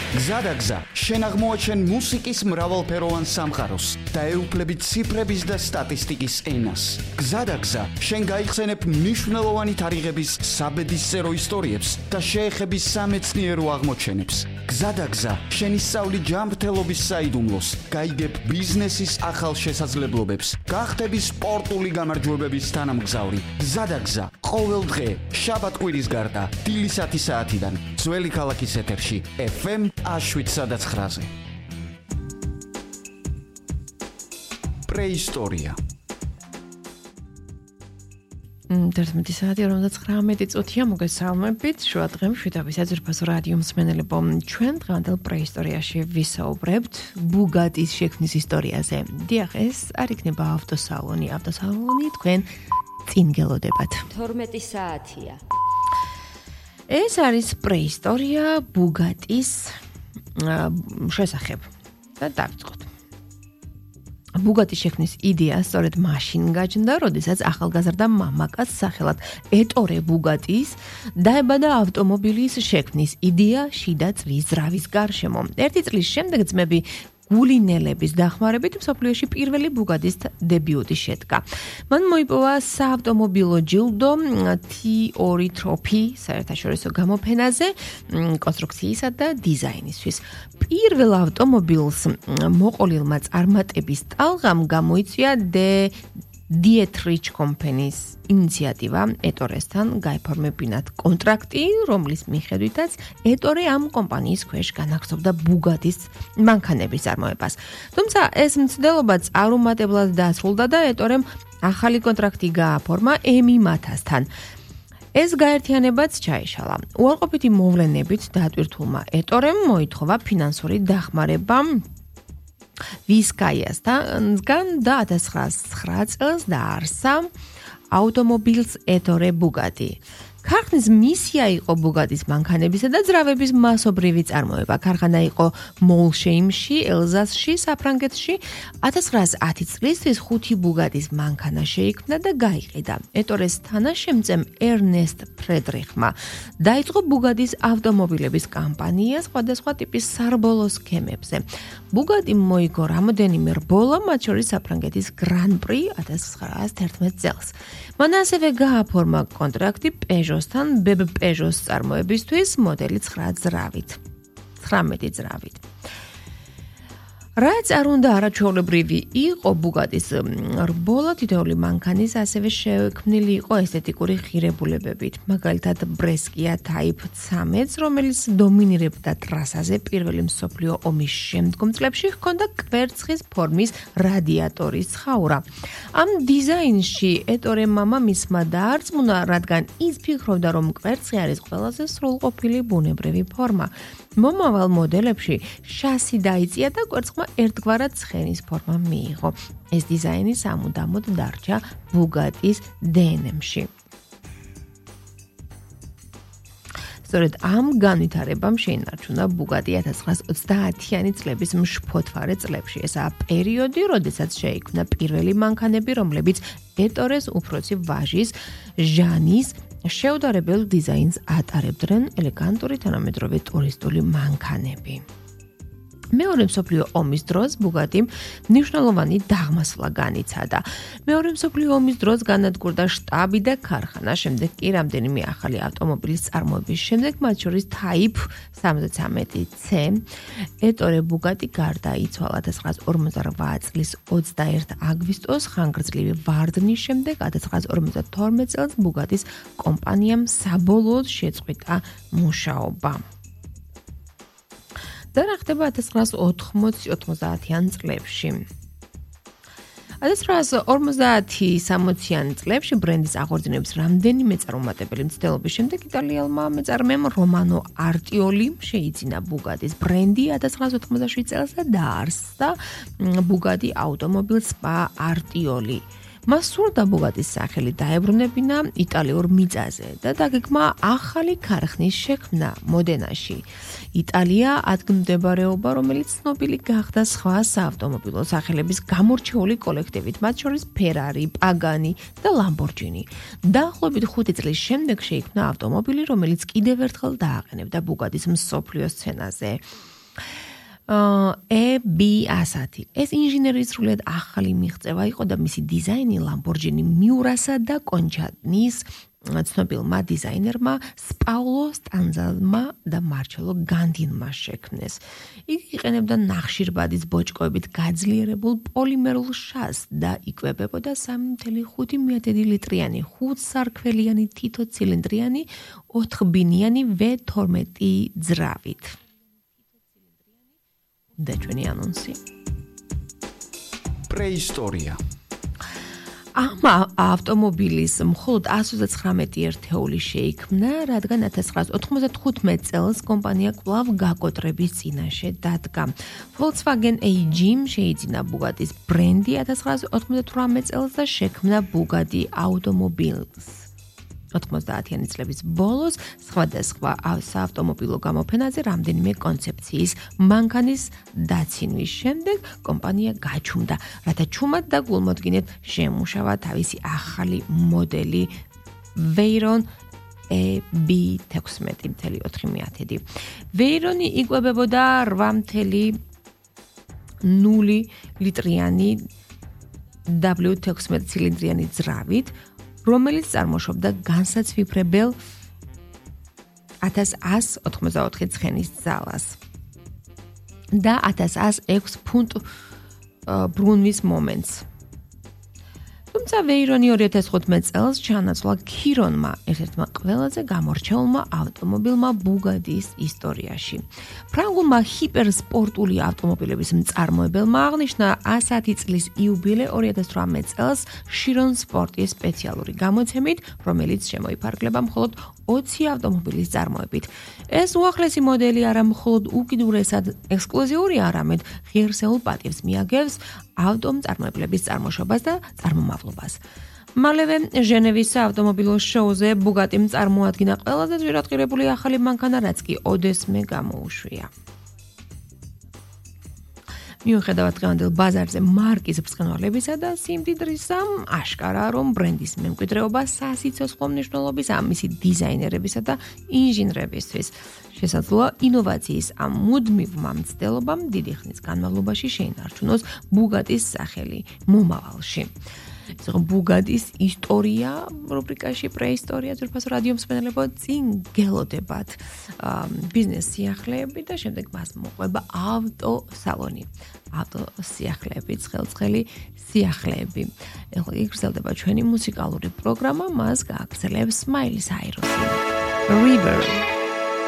გზადაგზა, შენ აღმოაჩენ მუსიკის მრავალფეროვან სამყაროს და ეუფლები ციფრების და სტატისტიკის ენას. გზადაგზა, შენ გაიხსენებ მნიშვნელოვანი თარიღების საბედისწერო ისტორიებს და შეეხები სამეცნიერო აღმოჩენებს. გზადაგზა, შენ ისწავლი ჯანმრთელობის საიდუმლოს, გაიგებ ბიზნესის ახალ შესაძლებლობებს, გახდები სპორტული გამარჯვებების თანამგზავრი. გზადაგზა, ყოველ დღე, შაბათ-კვირის გარდა, დილის 10 საათიდან, ძველი ქალაქის ეთერში, FM 7-9-ზე. პრეისტორია. 11 საათი 59 წუთია მოგესალმებით. შუა დღემში ძვირფასო რადიო მსმენელებო, ჩვენ დღევანდელ პრეისტორიაში ვისაუბრებთ ბუგატის შექმნის ისტორიაზე. დიახ, ეს არ იქნება ავტოსალონი. ავტოსალონი თქვენ წინ გელოდებათ. 12 საათია. ეს არის პრეისტორია ბუგატის შესახებ. და დავიწყოთ. ბუგატის შექმნის იდეა სწორედ მაშინ გაჩნდა, როდესაც ახალგაზრდა მამაკაცს სახელად ეტორე ბუგატის დაებადა ავტომობილის შექმნის იდეა შიდა წვის ძრავის გარშემო. ერთი წლის შემდეგ ძმები გულინელების დახმარებით მსოფლიოში პირველი ბუგატის დებიუტი შედგა. მან მოიპოვა საავტომობილო ჯილდო T2 ტროფი საერთაშორისო გამოფენაზე კონსტრუქციისა და დიზაინისთვის. პირველ ავტომობილს მოყოლილმა წარმატების ტალღამ გამოიწვია Dietrich კომპანიის ინიციატივა ეტორესთან გაიფორმებინათ კონტრაქტი, რომლის მიხედვითაც ეტორე ამ კომპანიის ქვეშ განაგრძობდა ბუგატის მანქანების წარმოებას. თუმცა ეს მცდელობაც არუმატებლად დასრულდა და ეტორემ ახალი კონტრაქტი გააფორმა EMI-MAT-ასთან. ეს გაერთიანებაც ჩაეშალა. უარყოფითი მოვლენებით დატვირთულმა ეტორემ მოითხოვა ფინანსური დახმარება ვისკაიასთან და 1909 წელს დაარსა ავტომობილს ეტორე ბუგატი. ქარხნის მისია იყო ბუგატის მანქანებისა და ძრავების მასობრივი წარმოება. ქარხანა იყო მოლშეიმში, ელზასში, საფრანგეთში. 1910 წლისთვის 5 ბუგატის მანქანა შეიქმნა და გაიყიდა. ეტორეს თანაშემწემ ერნესტ ფრედრიხმა დაიწყო ბუგატის ავტომობილების კამპანია სხვადასხვა ტიპის სარბოლო სქემებზე. ბუგატიმ მოიგო რამდენიმე რბოლა, მათ შორის საფრანგეთის გრან-პრი 1911 წელს. მან ასევე გააფორმა კონტრაქტი პეჟოსთან ბებ პეჟოს წარმოებისთვის მოდელი 19 ძრავით. რაც არ უნდა არაჩვეულებრივი იყო ბუგატის რბოლა, თითოეული მანქანის ასევე შექმნილი იყო ესთეტიკური ღირებულებებით. მაგალითად, ბრესკია Type 13, რომელიც დომინირებდა ტრასაზე პირველი მსოფლიო ომის შემდგომ წლებში, ჰქონდა კვერცხის ფორმის რადიატორის ცხაურა. ამ დიზაინში ეტორე მამამისმა დაარწმუნა, რადგან ის ფიქრობდა, რომ კვერცხი არის ყველაზე სრულყოფილი ბუნებრივი ფორმა. მომავალ მოდელებში შასი დაიწია და კვერცხმა ერთგვარად ცხენის ფორმა მიიღო. ეს დიზაინი სამუდამოდ დარჩა ბუგატის DNM-ში. სწორედ ამ განვითარებამ შეინარჩუნა ბუგატი 1930-იანი წლების მშფოთვარე წლებში. ესაა პერიოდი, როდესაც შეიქმნა პირველი მანქანები, რომლებიც ეტორეს უფროსი ვაჟის ჟანის შეუდარებელ დიზაინს ატარებდნენ, ელეგანტური თანამედროვე ტურისტული მანქანები. მეორე მსოფლიო ომის დროს ბუგატიმ მნიშვნელოვანი დაღმასვლა განიცადა. მეორე მსოფლიო ომის დროს განადგურდა შტაბი და ქარხანა, შემდეგ კი რამდენიმე ახალი ავტომობილის წარმოების შემდეგ, მათ შორის Type 73C, ეტორე ბუგატი გარდაიცვალა 1948 წლის 21 აგვისტოს ხანგრძლივი ვარდნის შემდეგ. 1952 წელს ბუგატის კომპანიამ საბოლოოდ შეწყვიტა მუშაობა. და რა ხდება 1980-90-იან წლებში. 1950-60-იან წლებში ბრენდის აღორძინების რამდენიმე წარუმატებელი მცდელობის შემდეგ იტალიელმა მეწარმემ რომანო არტიოლი შეიძინა ბუგატის ბრენდი 1987 წელს და დაარსა ბუგატი ავტომობილ სპა არტიოლი. მას სურდა ბუგატის სახელი დაებრუნებინა იტალიურ მიწაზე და დაგეგმა ახალი ქარხნის შექმნა მოდენაში. იტალია ადგილმდებარეობა, რომელიც ცნობილი გახდა სხვა საავტომობილო სახელების გამორჩეული კოლექტივით, მათ შორის Ferrari, Pagani და Lamborghini. დაახლოებით 5 წლის შემდეგ შეიქმნა ავტომობილი, რომელიც კიდევ ერთხელ დააყენებდა ბუგატის მსოფლიო სცენაზე. EB100. ეს ინჟინერის სრულიად ახალი მიღწევა იყო და მისი დიზაინი Lamborghini Miurasa და Conchadnis ცნობილმა დიზაინერმა Paolo Stanzalma და Marcello Gandinma შექმნეს. იგი იყენებდა ნახშირბადის ბოჭკოებით გაძლიერებულ პოლიმერულ შაზს და იკვებებოდა 3.5 ლიტრიანი 5 სარქველიანი თითო ცილინდრიანი 4 ბინიანი V12 ძრავით. და ჩვენი ანონსი. პრეისტორია. ამ ავტომობილის მხოლოდ 139 ერთეული შეიქმნა, რადგან 1995 წელს კომპანია კვლავ გაკოტრების წინაშე დადგა. Volkswagen AG შეიძინა Bugatti-ს ბრენდი 1998 წელს და შექმნა Bugatti ავტომობილს. 90-იანი წლების ბოლოს სხვადასხვა საავტომობილო გამოფენაზე რამდენიმე კონცეფციის მანქანის დაცინვის შემდეგ კომპანია გაჩუმდა, რათა ჩუმად და გულმოდგინედ შემუშავა თავისი ახალი მოდელი Veyron EB16.4. Veyroni იკვებებოდა 8.0 ლიტრიანი W16 ცილინდრიანი ძრავით, რომელიც წარმოშობდა განსაცვიფრებელ 1184 ცხენის ძალას და 1106 ფუნტ ბრუნვის მომენტს. თუმცა Veyroni 2015 წელს ჩაანაცვლა Chironმა, ერთ-ერთმა ყველაზე გამორჩეულმა ავტომობილმა Bugatti-ის ისტორიაში. ფრანგულმა ჰიპერსპორტული ავტომობილების მწარმოებელმა აღნიშნა 100 წლის იუბილე 2018 წელს Chiron Sport-ის სპეციალური გამოცემით, რომელიც შემოიფარგლება მხოლოდ 20 ავტომობილის წარმოებით. ეს უახლესი მოდელი არა მხოლოდ უკიდურესად ექსკლუზიური, არამედ ღირსეულ პატივს მიაგებს ავტომწარმოებლების წარმოშობას და წარმომავლობას. მალევე ჟენევის საავტომობილო შოუზე Bugatti-მ წარმოადგინა ყველაზე ძვირადღირებული ახალი მანქანა, რაც კი ოდესმე გამოუშვია. მიუხედავად დღევანდელ ბაზარზე მარკის ბრწყინვალებისა და სიმდიდრისა, აშკარაა, რომ ბრენდის მემკვიდრეობა სასიცოცხლო მნიშვნელობის მისი დიზაინერებისა და ინჟინრებისთვის შესაძლოა ინოვაციის ამ მუდმივმა მცდელობამ დიდი ხნის განმავლობაში შეინარჩუნოს Bugatti-ს სახელი მომავალში. Bugatti-ს ისტორია რუბრიკაში პრეისტორია ძვირფას რადიო მსმენელებო წინ გელოდებათ ბიზნეს სიახლეები და შემდეგ მას მოყვება ავტოსალონი. ავტოსიახლეები, ცხელ-ცხელი სიახლეები. ეხლა გაგრძელდება ჩვენი მუსიკალური პროგრამა, მას გააგრძელებს Miley Cyrus. River.